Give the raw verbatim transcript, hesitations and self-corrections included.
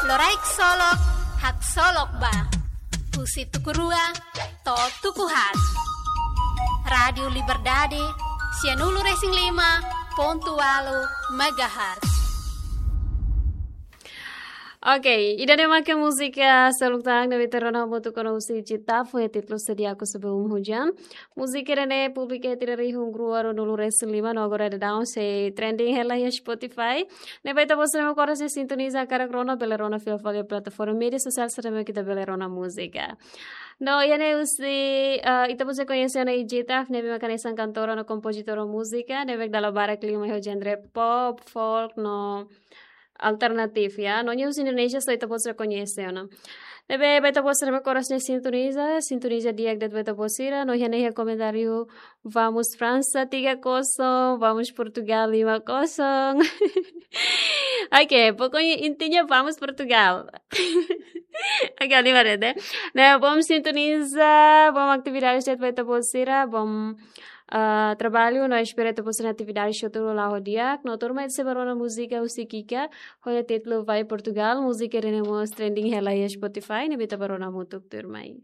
Loraik Solok, haksolok ba. Husi tuku rua to'o tuku haat. Rádiu Liberdade, sianulu-resin-lima pontu ualu megahertz. Oke, ida-ne'e maka múzika seluk tan ne'ebé ita rona hamutuk ona husi Getafe, títulu Sedia Aku Sebelum Hujan. Múzika ida-ne'e publika iha tinan rihun rua ruanulu-resin-lima, no agora daudaun sei trending hela iha Spotify. Ne'ebé ita-boot sira ne'ebé oras ne'e sintoniza, hakarak rona, bele rona fila fali iha plataforma média sosiál sira ne'ebé ita bele rona múzika. No iha ne'e husi, eh, ita-boot sira koñese ona Getafe, ne'ebé maka hanesan kantora no kompozitora múzika, ne'ebé dala barak liu mai ho genre pop, folk, no alternatif, ya. No nia husi Indonézia, só ita-boot sira koñese ona. Ne'ebé ba ita-boot sira ne'ebé oras ne'e sintoniza, sintoniza di'ak de'it ba ita-boot sira, no iha ne'e iha komentáriu, "Vamos França tiga kosong, vamos Portugal lima kosong." Oke, pokoknya intinya vamos Portugal. Oke, lima de'it. Nah, bom sintoniza, bom atividade de'it ba ita-boot sira, bom, ah, trabalho, no espera ita-boot sira atividade hotu la'o di'ak, no tuirmai sei bá rona múzika husi Kika, ho nia títulu Vai Portugal, múzika ida-ne'e mós trending hela iha Spotify, ne'ebé ita bá rona hamutuk tuirmai.